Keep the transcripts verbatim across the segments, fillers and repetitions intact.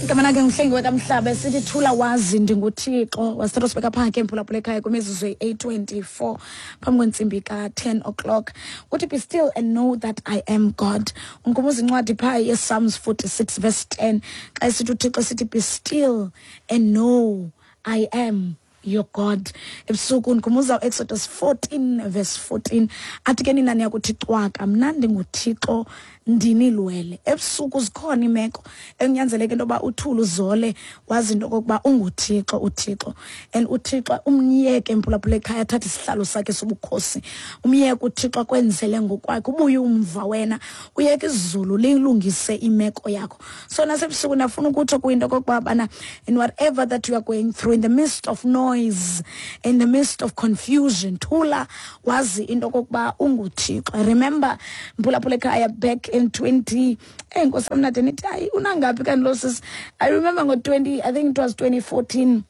Igama lakhe nguHlengiwe kaMhlaba, sithi thula wazi ndinguThixo. Wasithatha sibeka phaa ke mphulaphula ekhaya kwimizuzu eyi-eight twenty-four phambi kwentsimbi ka-ten o'clock. Uthi be still and know that I am God. Unkumbuza incwadi phaa yePsalms forty-six verse ten. Xa esithi uThixo sithi be still and know I am your God. Ebusuku ndikhumbuza uExodus fourteen verse fourteen. Athi ke nina niyakuthi cwaka, mna ndinguThixo ndinilwele. Ebusuku zikhona imeko ekunyanzeleke into yoba uthule uzole wazi into okokuba unguThixo uThixo. And uThixo umyeke mphulaphula ekhaya athathe isihlalo sakhe sobukhosi. Umyeke uThixo akwenzele ngokwakhe, ubuye umva wena, uyeke izulu lilungise imeko yakho. So nasebusuku ndiyafuna ukutsho kuyinto okokuba bana in whatever that you are going through, in the midst of noise, in the midst of confusion, thula wazi into okokuba unguThixo. I remember mphulaphula ekhaya back in twenty eh nkosi mnade nithi hayi unangaphi kanti lo sis. I remember ngo twenty, I think it was twenty fourteen,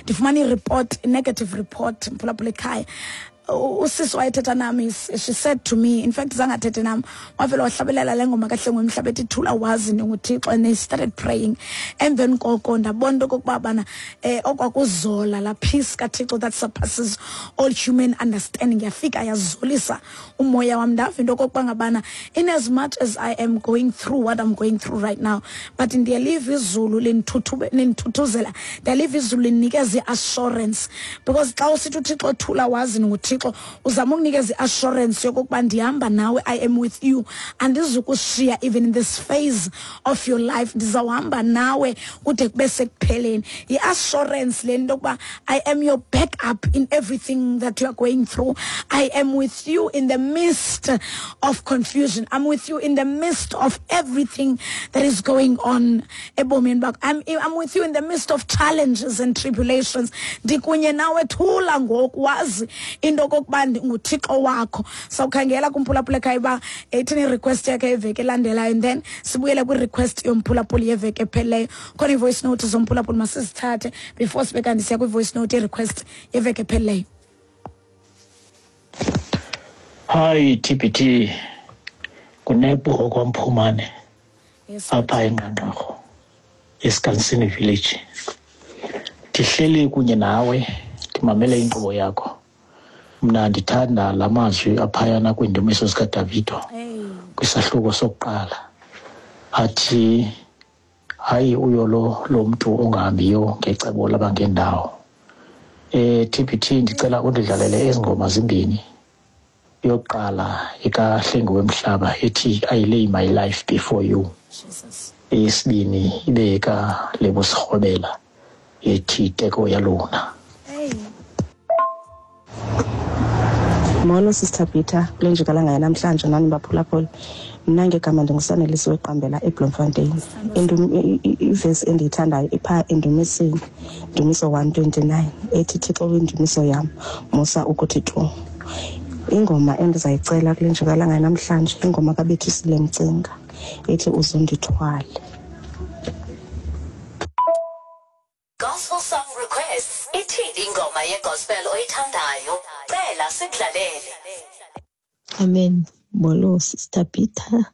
ndifumana i-report, negative report mphulaphula ekhaya. Usisi wayethetha nami, she said to me, in fact zange athethe nami, wavele wahlabelela le ngoma kaHlengiwe Mhlaba ethi thula wazi ndinguThixo, and they started praying. Emveni koko ndabona into okokuba bana eh okwakuzola la peace kaThixo that surpasses all human understanding yafika yazolisa umoya wam. Ndava into okokuba ngabana in as much as I am going through what I'm going through right now, but ndiyaliva izulu lindithuthuzela, ndiyaliva izulu lindinikeza i-assurance, because xa usithi uThixo thula wazi ndinguThixo, uzama ukunikeza i-assurance yokokuba ndihamba nawe, I am with you, andizukushiya even in this phase of your life, ndizawuhamba nawe kude kube sekupheleni. I-assurance le nto yokuba I am your backup in everything that you are going through. I am with you in the midst of confusion. I'm with you in the midst of everything that is going on ebomini bakho. I'm, I'm with you in the midst of challenges and tribulations. Ndikunye nawe, thula ngoku wazi into okokuba nguThixo wakho. Sawukhangela kumphulaphula ekhaya uba ithini i-request yakhe yeveki elandelayo, and then sibuyele kwi-request yomphulaphuli yeveki ephelileyo. Khona i-voice note zomphulaphuli masizithathe before sibe kanti siya kwi-voice note ye-request yeveki ephelileyo. Hi T B T, kunepo kwaMphumane apha eNqanqarho eSikansini Village. Ndihleli kunye nawe ndimamele inkqubo yakho. Mna ndithanda la mazwi aphayana kwiindumiso zikaDavido kwisahluko sokuqala athi hayi uyolo lo mntu ongahambiyo ngecebo labangendawo. Eh T B T ndicela undidlalele ezi ngoma zimbini. Yokuqala ekaHlengiwe Mhlaba ethi I lay my life before you. Eyesibini ibe ekaLebo Sekgobela ethi Teko ya lona. Molo Sister Peter, kule njikalanga yanamhlanje nani baphulaphula. Mna ngegama ndinguSanelisiwe Qambela eBloemfontein. Ivesi endiyithandayo ipha endumisweni, Ndumiso one twenty-nine ethi Thixo windumiso yam, musa ukuthi tu. Ingoma endizayicela kule njikalanga yanamhlanje ingoma kaBethisile Mcinga ethi uzundithwale. Gospel song requests. Ithini ingoma yegospel oyithandayo? Cela sikudlalele. Amen. Molo Sister Peter.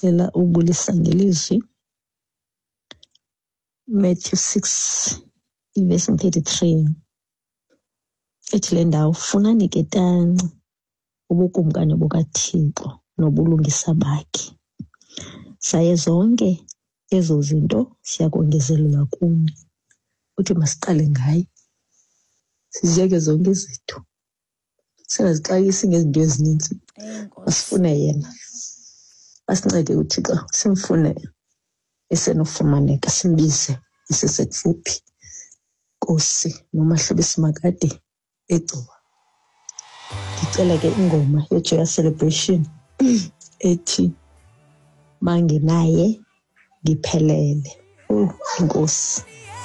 Cela ubulisa ngelizwi. Matthew six verse thirty-three. Ethi le ndawo, funani ke tanci ubukumkani bukaThixo nobulungisa bakhe, saye zonke ezo zinto siyakongezelelwa kuni. Uthi masiqale ngaye, siziyeke zonke izinto, singazixakisi ngezinto ezininzi, masifune yena, asincede uThixo, simfune esenofumaneka, simbize esesekufuphi. Nkosi noMahlobo Simakade eGcuwa. Ndicela ke ingoma yeJoyous Celebration ethi mangenaye ngiphelele. Oh Nkosi.